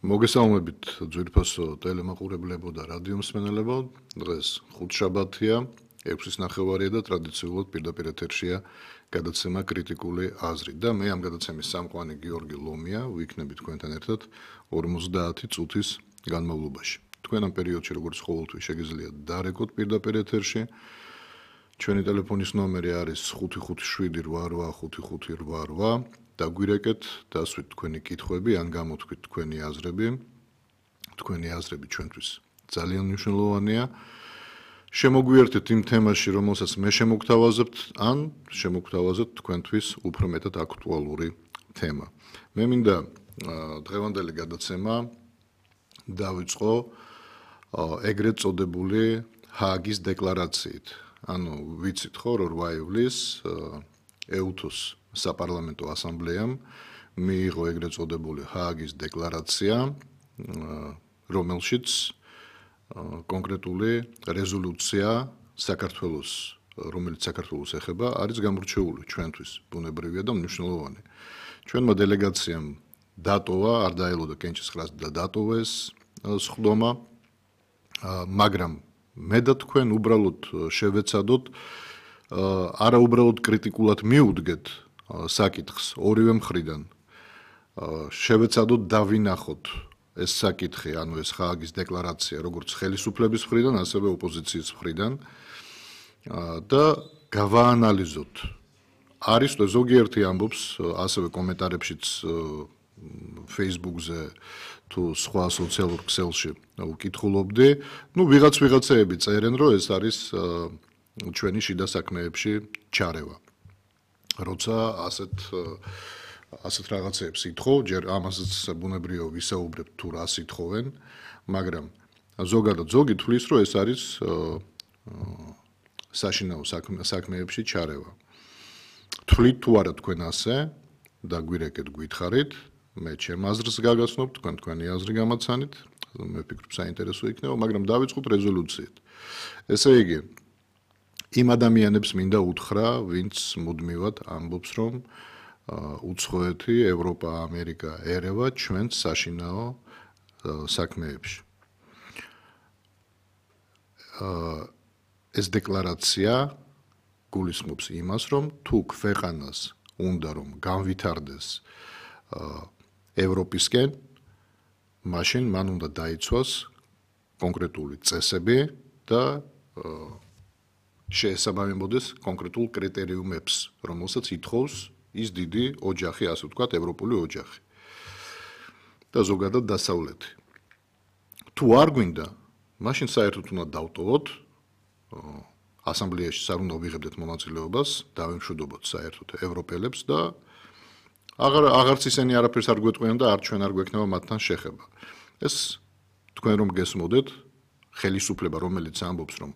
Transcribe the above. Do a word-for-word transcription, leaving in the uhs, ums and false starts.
მოგესალმებით ძვირფასო ტელემაყურებლებო და რადიო მსმენელებო. დღეს ხუთშაბათია, ექვსის ნახევარია და ტრადიციულად პირდაპირ ეთერშია გადაცემა კრიტიკული აზრი და მე ამ გადაცემის სამყვანი გიორგი ლომია, ვიქნები თქვენთან ერთად ორმოცდაათი წუთის განმავლობაში. თქვენ ამ პერიოდში როგორც ყოველთვის შეგიძლიათ დარეკოთ პირდაპირ ეთერში. ჩვენი ტელეფონის ნომერი არის ხუთი ხუთი შვიდი რვა რვა ხუთი ხუთი რვა რვა. დაგვირეკეთ, დასვით თქვენი კითხვები, ან გამოთქვით თქვენი აზრები. თქვენი აზრები ჩვენთვის ძალიან მნიშვნელოვანია. შემოგვიერთეთ იმ თემაში, რომელსაც მე შემოგთავაზებთ, ან შემოგთავაზებთ თქვენთვის უფრო მეტად აქტუალური თემა. მე მინდა დღევანდელი გადაცემა დავიწყო ეგრეთ წოდებული ჰააგის დეკლარაციით. ანუ ვიცით ხო, რომ რვა ივლისს ეუთოს საპარლამენტო ასამბლეამ მიიღო ეგრეთ წოდებული ჰააგის დეკლარაცია, რომელშიც კონკრეტული რეზოლუცია საქართველოს, რომელიც საქართველოს ეხება, არის გამორჩეული ჩვენთვის, ბუნებრივია და მნიშვნელოვანი. ჩვენმა დელეგაციამ დატოვა, არ დაელოდა კენჭისყრას და დატოვა ეს სხდომა, მაგრამ მე და თქვენ უბრალოდ შევეცადოთ, არა უბრალოდ კრიტიკულად მიუდგეთ საკითხს ორივე მხრიდან. შევეცადოთ დავინახოთ ეს საკითხი, ანუ ეს ჰააგის დეკლარაცია, როგორც ხელისუფლების მხრიდან, ასევე ოპოზიციის მხრიდან და გავაანალიზოთ. არის ზოგიერთი ამბობს, ასევე კომენტარებშიც Facebook-ზე თუ სხვა სოციალურ ქსელში ვკითხულობდი, ну ვიღაც ვიღაცეები წერენ, რომ ეს არის ჩვენი შიდა საქმეებში ჩარევა. როცა ასეთ ასეთ რაღაცებს ითხოვ, ჯერ ამასაც ბუნებრივია ვისაუბრებ თუ რას ითხოვენ, მაგრამ ზოგადად ზოგი თვლის, რომ ეს არის საშინაო საქმეებში ჩარევა. თვლით თუ არა თქვენ ასე, დაგვირეკეთ, გითხარით, მე ჩემ აზრს გაგაცნობ, თქვენ თქვენი აზრი გამაცანით, მე ვფიქრობ საინტერესო იქნება, მაგრამ დავიწყოთ რეზოლუციით. ესე იგი, იმ ადამიანებს მინდა უთხრა, ვინც მუდმივად ამბობს, რომ უცხოეთი, ევროპა, ამერიკა ერევა ჩვენს საშინაო საქმეებში. ეს დეკლარაცია გულისხმობს იმას, რომ თუ ქვეყანას უნდა რომ განვითარდეს ევროპისკენ, მაშინ მან უნდა დაიცვას კონკრეტული წესები და შეესაბამებოდეს კონკრეტულ კრიტერიუმებს, რომელსაც ითხოვს ის დიდი ოჯახი, ასე ვთქვათ, ევროპული ოჯახი და ზოგადად დასავლეთი. თუ არ გვინდა, მაშინ საერთოდ უნდა დავტოვოთ ასამბლეაში, არ უნდა ვიღებდეთ მონაწილეობას, დავემშვიდობოთ საერთოდ ევროპელებს და აღარ აღარც ისინი არაფერს არ გვეტყვიან და არ ჩვენ არ გვექნება მათთან შეხება. ეს თქვენ რომ გესმოდეთ, ხელისუფლება, რომელიც ამბობს, რომ